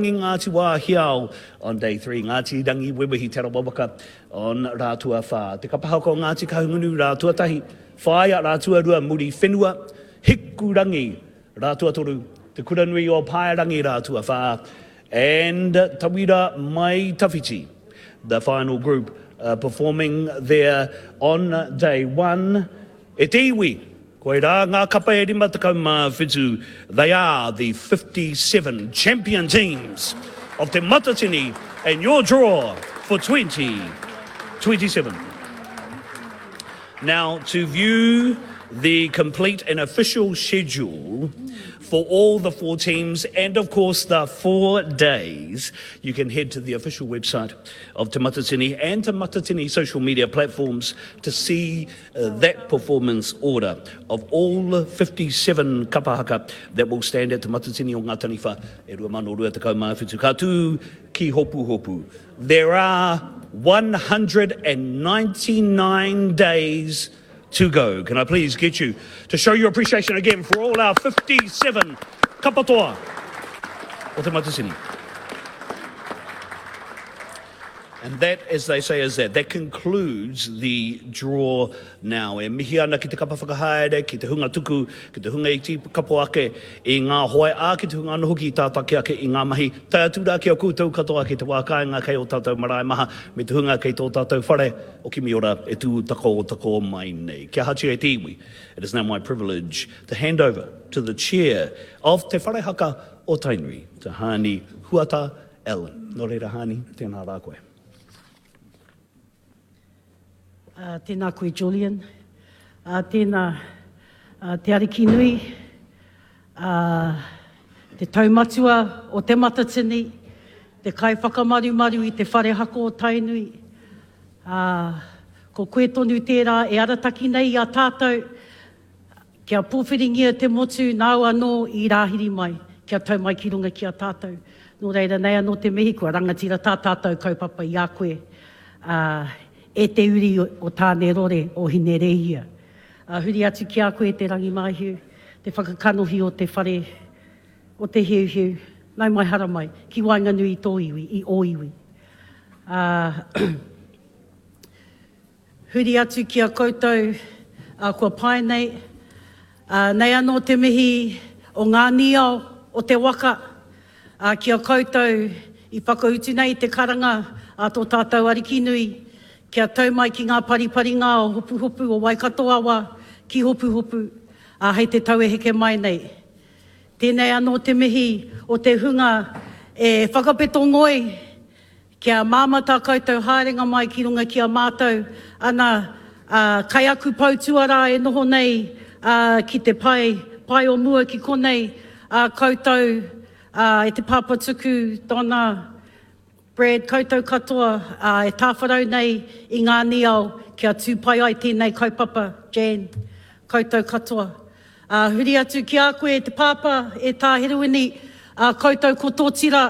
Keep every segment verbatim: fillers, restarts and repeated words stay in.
Ngāti Wāhiao on day three, Ngāti Rangiwewehi Te Arawa Waka on rā tuawhā. Te kapa haka o Ngāti Kahungunu rā tuatahi, Whāia rā tuarua Muriwhenua, Hikurangi rā tuatoru, Te Kuranui o Paerangi rā tuawhā, and Tawira Mai Tawhiti, the final group uh, performing there on day one. E te iwi, koirā ngā kapa e rima tekau mā whitu, they are the fifty-seven champion teams of Te Matatini and your draw for twenty twenty-seven. Now, to view the complete and official schedule for all the four teams and, of course, the four days, you can head to the official website of Te Matatini and Te Matatini social media platforms to see uh, that performance order of all fifty-seven kapa haka that will stand at Te Matatini o Ngā Taniwha e rua mano rua tekau mā whitu. Ka tū ki Hopuhopu. There are one hundred and ninety-nine days to go. Can I please get you to show your appreciation again for all our fifty-seven kapatoa o Te Matatini. And that, as they say, is that. That concludes the draw now. E mihi ana ki te kapa whakahaere, ki te hunga tuku, ki te hunga i tīkapo ake i ngā hoe, ā, ki te hunga anō hoki i tātaki ake i ngā mahi. Tae atu rā ki a koutou katoa ki te wā kāinga kei o tātou marae maha, me te hunga kei tō tātou whare o Kimiora e tū tako tako mai nei. Kia hatia e te iwi. It is now my privilege to hand over to the chair of Te Whare Haka o Tainui, to Hani Huata Allen. Nō reira, Hani, tēnā rā koe. Uh, tēnā koe, Julian. Uh, tēnā, uh, te Ariki nui, uh, te taumatua o Te Matatini, te kai whakamarumaru i te whare haka o Tainui. Uh, ko koe tonu tērā e arataki nei i a tātou, kia pōwhiringia te motu nāu anō i rāhiri mai, kia tau mai ki runga ki a tātou. Nō reira nei anō te mihi, kua rangatira tā tātou kaupapa i a koe. Uh, e te uri o Tāne Rore o Hinerehia. Uh, huri atu ki a koe te Rangimāhiu, te whakakanohi o te whare, o te heuheu, nau mai hara mai, ki waenganui i tō iwi, i ō iwi. Uh, huri atu ki a koutou uh, kua pae nei, uh, nei anō te mihi o ngā niao o te waka, uh, ki a koutou i whakautu nei te karanga a tō tātou ariki nui, kia tau mai ki ngā pariparinga o Hopuhopu o Waikato awa ki Hopuhopu, a hei te tau e heke mai nei. Tēnei anō te mihi o te hunga e whakapeto ngoi, kia māma tā koutou haerenga mai ki runga ki a mātou, ana a, kai aku poutuarā e noho nei a, ki te pae, pae o mua ki konei, a, koutou a, e te Papatuku, Donna, Brad, koutou katoa uh, e tāwharau nei i ngā niao kia tū pai ai tēnei kaupapa, Jan, koutou katoa. Uh, huri atu ki a koe e te pāpā, e tā Heruini, uh, koutou ko tō tira,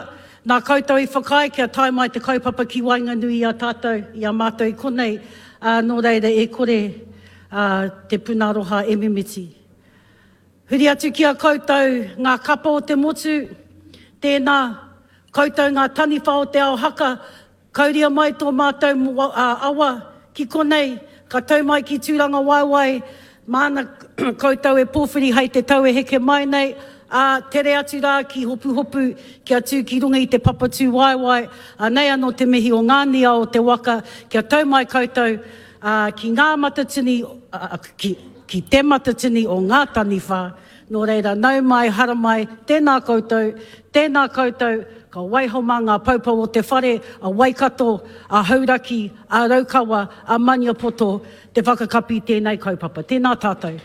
nā koutou i whakaae kia tae mai te kaupapa ki waenganui i a tātou, i a mātou i konei, uh, nō reira e kore uh, te puna aroha e mimiti. Huri atu ki a koutou ngā kapa o te motu, tēnā, koutou ngā taniwha o te ao haka, kauria mai tō mātou awa ki konei, ka tau mai ki Tūranga Waewae, māna koutou e pōwhiri hei te tau e heke mai nei, a tere atu rā ki Hopuhopu, kia tū ki runga i te papatū waewae, a nei anō te mihi o ngā nia o te waka, kia tau mai koutou a, ki ngā matatini, a, ki, ki te matatini o ngā taniwha, nō reira nau mai, hara mai, tēnā koutou, tēnā koutou, ka waiho mā ngā paupau o te whare, a Waikato, a Hauraki, a Raukawa, a Maniapoto, te whakakapi tēnei kaupapa. Tēnā tātou.